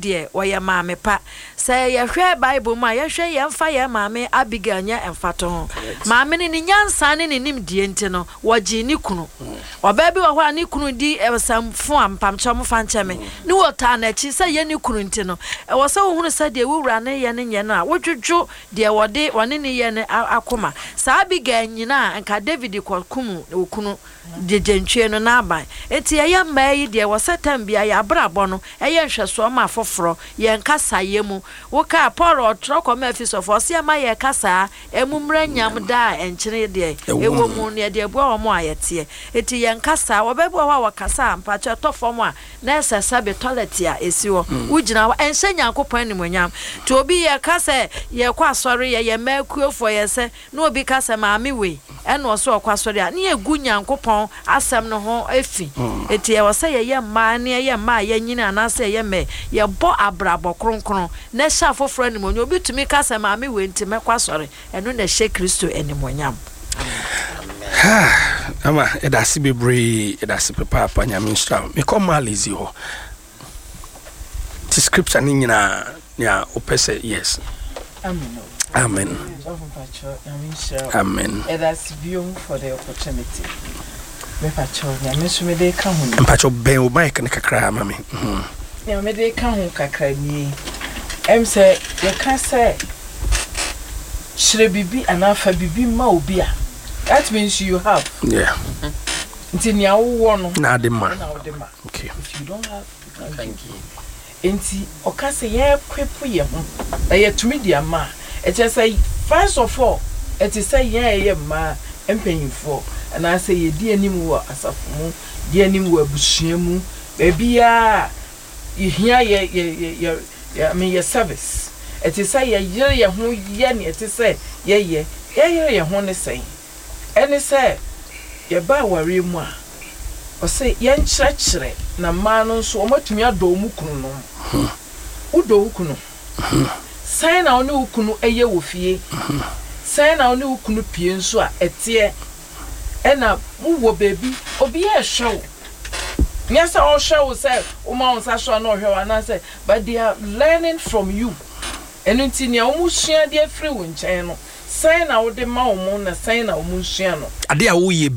deɛ, wɔyɛ maame pa. Sɛ yɛhwɛ Bible mu a, yɛnhwɛ yɛmfa yɛn maame Abigail nyɛ mfatoho. Maame no, ne nyansa ne ne nimdeɛ nti no, wɔgyee ne kunu. Ɔbaa bi wɔ hɔ a ne kunu di nsɛmfo a, mpamkyɛw momfa nkyɛ me, ne wɔtaa n'akyi sɛ ɛyɛ ne kunu nti no, ɛwɔ sɛ wohunu sɛ deɛ wo wura no reyɛ no nyɛ no a, wodwodwo deɛ wɔde wɔne no yɛ no akoma. Saa Abigail nyina a, anka David kɔkum okunu gyegyentwie no n'aban. Enti yɛyɛ mmaa yi deɛ, ɛwɔ sɛ tam biara yɛn abrabɔ no yɛ nhwɛsoɔ ma afoforɔ, yɛn kasayɛ mu. Wokaa Paul ɔtwerɛ kɔmaa Efesofoɔ, ɔse ɛma yɛn kasaa ɛmu mmra nyam daa a ɛnkyene deɛ ɛwɔ mu no, yɛde abua wɔn a yɛteɛ. Enti yɛn kasaa, ɔbaa bi wɔ hɔ a ɔkasa a, mpakyɛ ɛtɔ fam a, na ɛsɛ sɛbe tɔlɛt a ɛsi hɔ, wogyina hɔ, ɛnhyɛ Nyankopɔn animuonyam. Nti obi yɛka sɛ yɛkɔ asɔre, yɛyɛ mmaa akuofoɔ, yɛsɛ, na obi ka sɛ maame wei ɛna ɔsɛ ɔkɔ asɔre a, ne yɛgu Nyankopɔn asɛm no ho fi. Enti ɛwɔ sɛ yɛyɛ mmaa ne yɛyɛ mmaa a yɛanyini anaasɛ yɛyɛ mmɛ, yɛbɔ abrabɔ kronkron na ɛhyɛ afoforɔ animuonyam. Obi tumi ka sɛ maame wei nti mɛkɔ asɔre, ɛno na ɛhyɛ Kristo animuonyam. Amen. Ama yɛda ase bebree, yɛda ase papaapa, Nyame nhyira wo. Mekɔ Malizi hɔ. Ti scripture ne nyinaa nea wopɛ sɛ yes. Amen. Amen. Amen. Ɛdase biom for the opportunity. Mepakyɛw nea me nso mede ka ho ni. Mpakyɛw bɛn wo mic no kakra ma me. Nea mede ka ho kakra nie. Ɛm sɛ yɛka sɛ kyerɛ biribi anaa fa biribi ma obi a, that means you have. Yeah. Nti nea wowɔ no na ade ma. Na wode ma. Okay. If you don't have, you can't give. Enti ɔka sɛ yɛrequip yɛn ho na yɛatumi de ama a, ɛkyerɛ sɛ first of all, ɛte sɛ yɛn a yɛyɛ mmaa mpanyimfoɔ anaasɛ yɛdi anim wɔ asafo mu, di anim wɔ abusua mu, baabiara a yɛhia yɛ yɛ yɛ yɛ yɛ I mean yɛ service. Ɛte sɛ yɛyere yɛn ho yɛ nea ɛte sɛ yɛyɛ. Yɛyere yɛn ho ne sɛn? Ɛne sɛ yɛba awareɛ mu a, ɔse yɛnkyerɛkyerɛ na mmaa no nso wɔatumi adɔ wɔn kununom. Wodɔ wo kunu? Sɛn na wo ne wo kunu yɛ wɔ fie? Sɛn na wo ne wo kunu pue nso a ɛteɛ? Ɛna mowɔ baabi, obiara rehwɛ wo. Nyɛ sɛ ɔrehwɛ wo sɛ woma wo nsa so a na ɔhwɛ wo anaasɛ, but they are learning from you. Ɛno nti nea wɔsua de afiri wo nkyɛn no, Sɛn na wode ma wɔn na sɛn na wɔnsua no? Ade a woyɛ.